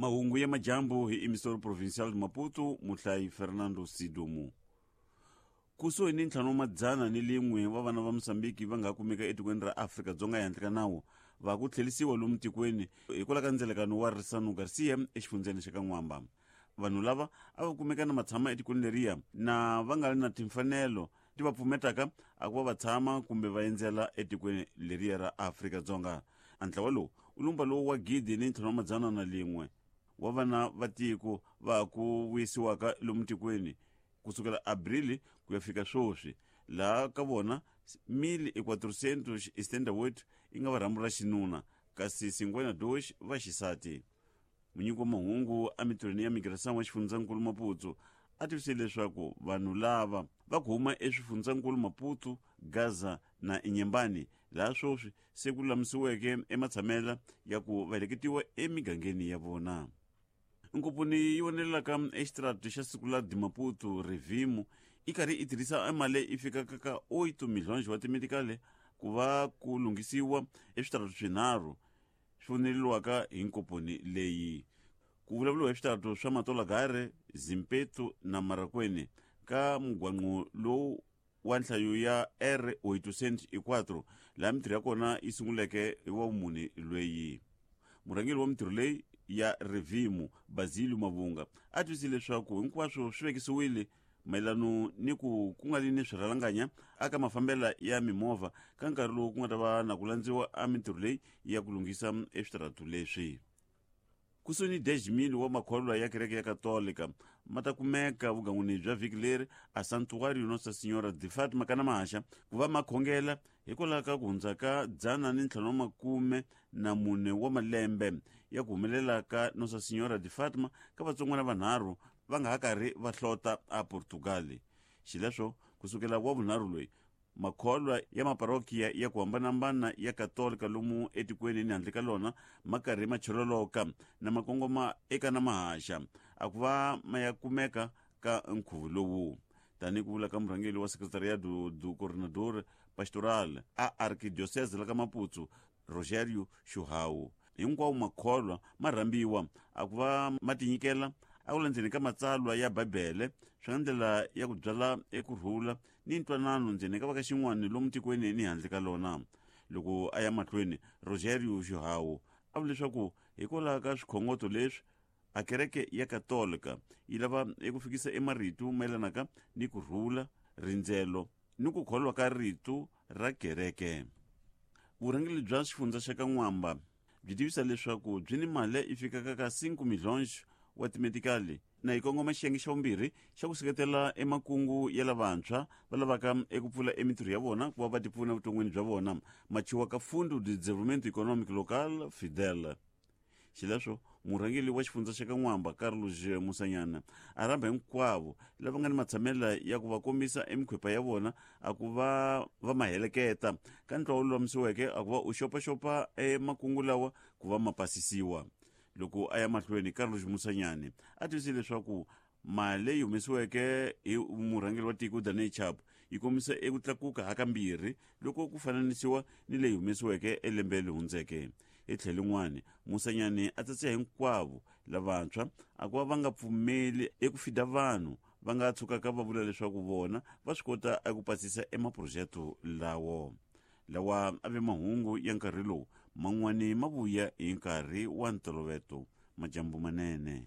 Mahungu ya majambu hi Emissor Provincial de Maputo, muhlayi Fernando Sidumu. Kusuhi ni ntlhanu wa madzana ni lin'we wa vana va Mosambiki va nga ha kumeka etikweni ra Afrika-Dzonga ehandle ka nawu va ku tlhelisiwa lomu tikweni hikwalaho ka ndzelekano wa Risano Garcia exifundzheni xa ka N'wamba. Vanhu lava a va kumeka na matshama etikweni leriya na va nga ri na timfanelo ti va pfumetaka a ku va va tshama kumbe va endzela etikweni leriya ra Afrika-Dzonga. A ntlawa lowu u lumba lowu wa 1501 wa vana va tiko va ku vuyisiwaka lomu tikweni kusukela Abril ku ya fika swoswi, laha ka vona 1478 yi nga va rhambu ra xinuna kasi 52 va xisati. Munyiki wa mahungu emitirhweni ya migração wa xifundzankulu Maputo a tivise leswaku vanhu lava va ku huma eswifundzankulu Maputo, Gaza na Inhambane laha swoswi se ku lulamisiweke ematshamela ya ku va heleketiwa emigangeni ya vona. Nkomponi yi vonelelaka exitirati xa siku la de Maputo Revimo yi karhi yi tirhisa emali yi fikaka ka 8 milhões wa timedikale ku va ku lunghisiwa eswitaratu swinharhu swi voneleliwaka hi nkomponi leyi. Ku vulavuriwa hi switaratu swa Matolagare, Zimpeto na Marakwene ka mugwanqo lowu wa nhlayo ya R804 laha mintirho ya kona yi sunguleke hi wa vumune lweyi. Murhangeri wa mintirho leyi ya Revimu, Basilio Mavunga, a twisise leswaku hinkwaswo swi vekisiwile mayelano ni ku ku nga vi ni swirhalanganya aka mafambela ya mimovha ka nkarhi lowu ku nga ta va na ku landziwa a mintirho leyi ya ku lunghisa eswitaratu leswi. Kusuhi ni 10,000 wa makholwa ya kereke ya Katolika ma ta kumeka vugan'wini bya vhiki leri a Santuário Nossa Senhora de Fátima ka Namahaxa ku va ma khongela hikwalaho ka ku hundza ka 554 wa malembe ya ku humelela ka Nossa Senhora de Fátima ka vatsongwana vanharhu va nga ha karhi va hlota a Portugal. Xileswo, ku sukela wa vunharhu loyi Makholwa ya maparokiya ya ku hambanahambana ya Katolika lomu etikweni ni handle ka lona ma karhi ma chololoka na ma kongoma eka na mahaxa a ku va ma ya kumeka ka nkhuvo lowu. Tanihi ku vula ka murhangeri wa Secretariado do Coordenador Pastoral a Arquidiocese la ka Maputo, Rogério Chuhau, hinkwawo makholwa ma rhambiwa a ku va ma tinyikela a ku landzeni ka matsalwa ya Bibele swi nga ndlela ya ku byala eku rhula ni ntwanano ndzeni ka va ka xin'wana lomu tikweni ni handle ka lona. Loko a ya mahlweni, Rogério Chuhau a vula leswaku hikwalaho ka swikhongoto leswi, a kereke ya Katolika yi lava eku fikisa emarito mayelanaka ni ku rhula, rindzelo ni ku kholwa ka rito ra kereke. Vurhangeri bya xifundza xa ka N'wamba byi tivisa leswaku byi ni mali yi fikaka ka 5 milhões wa timedikali na yi kongoma xiyenge xa vumbirhi xa ku seketela emakungu ya lavantshwa va lavaka eku pfula emintirho ya vona ku va va tipfuna evuton'wini bya vona machiwa ka Fundo de Desenvolvimento Econômico Local Fidel. Xileswo, murhangeri wa xifundza xa ka N'wamba, Carlos Musanyana, a rhamba hinkwavo lava nga ni matshamela ya ku va kombisa emikhwepa ya vona a ku va va ma heleketa ka ntlawa lulamisiweke a ku va u xopaxopa emakungu lawa ku va ma pasisiwa. Loko a ya mahlweni, Carlos Musanyane a tivise leswaku mali leyi humesiweke hi murhangeri wa tiko Daniel Chapo yi kombisa eku tlakuka hakambirhi loko ku fananisiwa ni leyi humesiweke elembe leri hundzeke. Hi tlhelo rin'wana, Musanyane a tsatsa hinkwavo lavantshwa a ku va va nga pfumeli eku fida vanhu va nga tshukaka va vula leswaku vona va swi kota eku pasisa emaphurojete lawo. Lawa a ve mahungu ya nkarhi lowu, man'wani ma vuya hi nkarhi wa ntoloveto. Majambu manene.